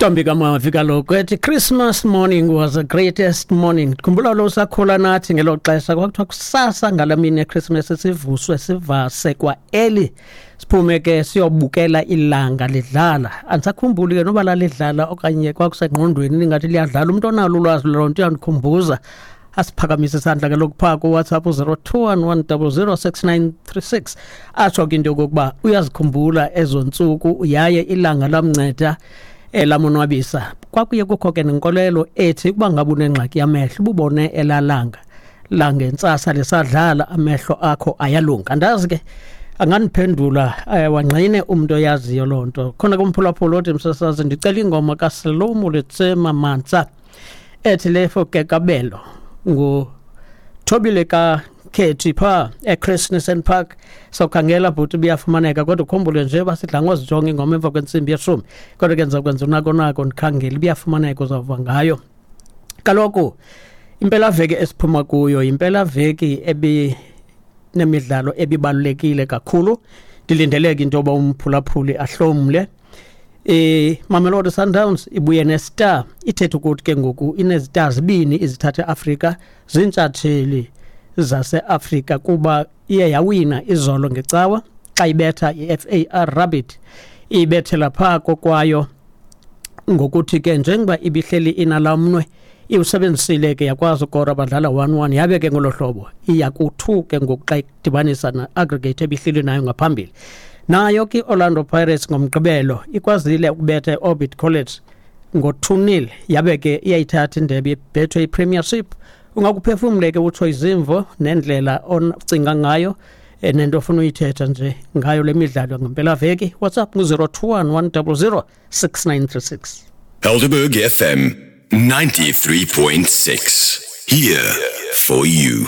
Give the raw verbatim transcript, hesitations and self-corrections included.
Ntombi kaMavi kaloku ethi "Christmas morning was the greatest morning." Khumbula lo sakhula nathi ngelo xesha, kwakuthiwa kusasa ngala mini yeChristmas sivuswe, sivase kwa early, siphume ke siyobukela ilanga lidlala. Andisakhumbuli ke noba lalidlala okanye kwakusengqondweni lingathi liyadlala. Umntu onalo ulwazi loo nto uyandikhumbuza, asiphakamise isandla kaloku phaa kuWhatsApp u-zero two one one zero zero six nine three six, atsho ke into yokokuba uyazikhumbula ezo ntsuku yaye ilanga lamnceda, elamonwabisa. Kwakuye kukho ke nenkolelo ethi ukuba ngabe unengxaki yamehlo, ububone elalanga langentsasa lisadlala, amehlo akho ayalunga. Andazi ke, angandiphendula eh, wangqine umntu oyaziyo loo nto. Khona kumphulaphula othi, "Msasazi, ndicela ingoma kaSelomo Letsema Mantsa ethi Lefo Kekabelo." Nguthobile kaKhethi phaa eChris Park. Sawukhangela bhuti, buyafumaneka, kodwa ukhumbule nje uba sidla ngozijonga ingoma emva kwentsimbi yeshumi, kodwa ke ndiza kwenza unako nako ndikhangele, ibiyafumaneka, uzawuva ngayo. Kaloku impelaveki esiphuma kuyo yimpelaveki ebinemidlalo ebibalulekile kakhulu. Ndilindeleke into yoba umphulaphuli ahlomle. eh Mamelodi Sundowns ibuye nestar, ithetha ukuthi ke ngoku inezistar zibini izithatha Afrika, ziintshatsheli zaseAfrika, kuba iye yawina izolo ngecawa xa ibetha i-F A R Rabat, ibethela phaa kokwayo, ngokuthi ke njengoba ibihleli inalamnwe iwusebenzisile ke, yakwazi ukora, badlala one one, yabe ke ngolo hlobo iya ku-two ke ngoku xa idibanisa na-aggregate ebihleli nayo ngaphambili. Nayo ke i-Orlando Pirates ngoMgqibelo ikwazile ukubetha i-Orbit College ngo-two nil, yabe ke iyayithatha indebe ibethwe i-Premiership. Ungakuphefumle ke utsho izimvo nendlela ocinga ngayo eh, nento ofuna uyithetha nje ngayo le midlalo ngempelaveki. WhatsApp ngu-zero two one one zero zero six nine three six. Helderberg F M ninety-three point six. Here for you.